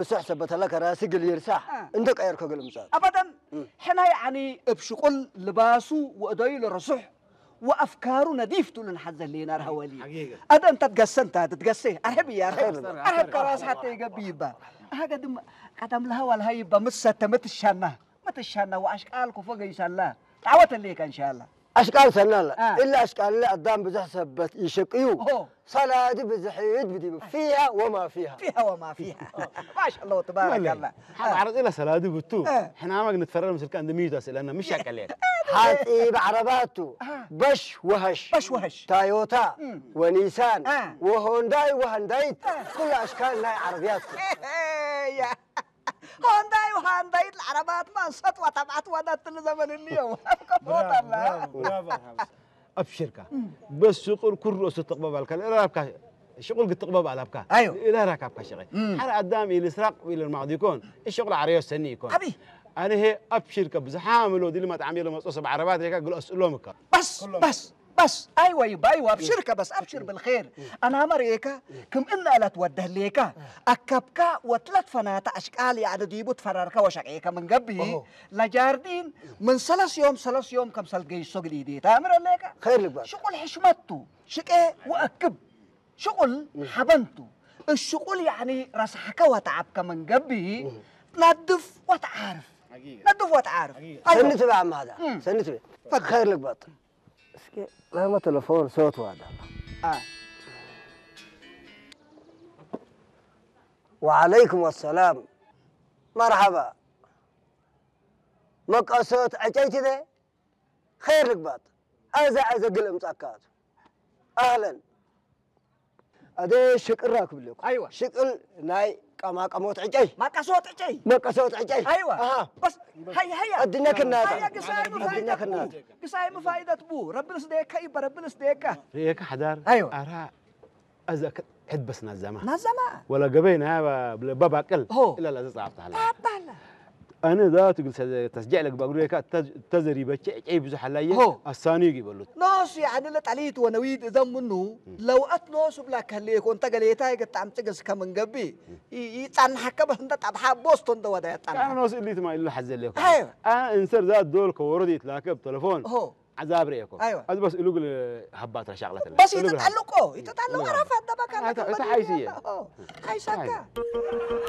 ብስሕ ሰበተላ ከራሲ ግል ይርሳሕ አ። እንተ ቀየርኮ ግል ምጻት أبدا. ሕና ያዕኒ እብ ሽቁል ልባሱ ወእደዩ ለረሱሕ ወአፍካሩ ነዲፍ ትብሉ ንሓዘ ሌና ርሃወሊ ሓቂቀ። ኣደ እንተ ትገሰ እንተ ትገሰ ኣርሕብ እያ ኣርሕብ ኣርሕብ፣ ኣርሕብ ከራስ ሓተ ይገብ ይባ ኣሃገ ድማ ቀዳም ለሃዋ ለሃ ይባ ምሰተ ምትሻና ምትሻና ወአሽቃል ኮፎ ገይሳላ ጣወተ ሌካ እንሻላ ኣሽቃል ሰናላ አ። ኢላ ኣሽቃል ኣዳም ብዙሕ ሰበት ይሸቅዩ ኦሆ። ሰላዲ ብዙሕ ይድ ብዲቡ ፊሃ ወማ ፊሃ فيها وما فيها ما شاء الله تبارك الله ሓደ ዓረፅ ኢላ ሰላዲ ብቱ እ። ሕናማግ ንትፈረር ምስልካ እንደ ሚዩት ኣስእለና ምሽ ያቀልየል ሓፂብ ዓረባቱ አ። በሽ ወሀሽ በሽ ወሀሽ። ታዮታ እም። ወኒሳን አ። ወሆንዳይ ወሃንዳይት ኩሉ ኣሽካል ናይ ዓረብያት ያ ሆንዳይ ወሃንዳይት ዓረባት ማን ሰጥዋ ተብዓት ዋዳት ትል ዘመን እንየው ከቦታላ ኣብሽርካ በስ ሽቁል ኩሉ እሱ ትቕበብ ኣልካ ለራብካ ሽቁል ግትቕበብ ኣላብካ ኣዮ። ኢላ ራካብካ ሸቀ ሓደ ኣዳም ኢል ስራቅ ኢል ማዕድ ይኮን ሽቁል ዓረዮ ሰኒ ይኮን ኣቢ ኣነ ሄ ኣብሽርካ ብዝሓ ምሎ ድሊ ማጣዕሚ ኢሎ መጾ ሰብ ዓረባት ሬካ ግል ኣስእሎም እካ بس بس بس ايوه يبا ايوه ابشرك بس ابشر بالخير انا مريكا كم ان الات وده ليكا اكبكا وتلت فناتا اشكال يعني ديبو تفرركا وشقيكا من قبي لجاردين من سلس يوم سلس يوم كم سلقي السوق دي تامر ليكا خير لك بقى شغل حشمته شقي واكب شغل حبنته الشغل يعني رسحك وتعبك من قبي تنظف وتعارف نظف وتعارف ሰኒ ትብዕ ኣማዳ ሰኒ ትብዕ ፈክ ኸይር ልግበጥ እስኪ ናመ ተለፎን ሰወት ዋዳ آه. وعليكم السلام مرحبا መቀሶት ዕጨይቲ ደ ኸይር ልግባጥ ኣዛ ኣዘ ግል እምጻካቱ ኣህለን ኣደ ሽቅራ ክብለኩ ኣይዋ። ሽቅል ናይ ቀማቀሞት ዕጨይ ማቀሶት ዕጨይ መቀሶት ዕጨይ ኣይዋ ኣሃ በስ ሃይ ሃያ ኣድነክና ሃያ ግሳይ ኣድነክና ግሳይ ምፋይደት ቡ ረብንስ ደየካ ይባ ረብንስ ደየካ ርእየካ ሓዳር ኣይዋ። ኣራ ኣዛ ሕድበስ ናዛማ ናዛማ ወላ ገበይ ናይ ባባቅል ሆ። ኢላ ላዘ ጻፍታ ሃላ ታባላ ኣነ ዛቱ ግል ተስጀዕ ለግባግሩ ካ ተዘሪበቸ ዕጨይ ብዙሕ ኣላየ ሆ። ኣሳኑ ይበሉት ኖስ ያዕኒ ለጠሊት ወነዊድ እዘም ምኑ ለውአት ኖስ ብላ ከሌኮ እንተ ገሌታ የገጣም ጽግስ ከምንገቢ ይጻንሐከ በስ እንተ ጠብሓ ቦስቶ እንተ ወደ ያጣና ኖስ እሊት ማ ኢሉ ሓዘለኮ ኣይዋ። እንሰር ዛ ዶል ከወረድ ይትላከብ ተለፎን ሆ ዓዛብ ርእየኮ ኣይዋ። ኣዚ በስ እሉ ግል ሃባት ረሻቅለት በስ ይተጣልቆ ይተጣልቆ ረፋ ደበካ እታ ሓይስየ ሓይሳካ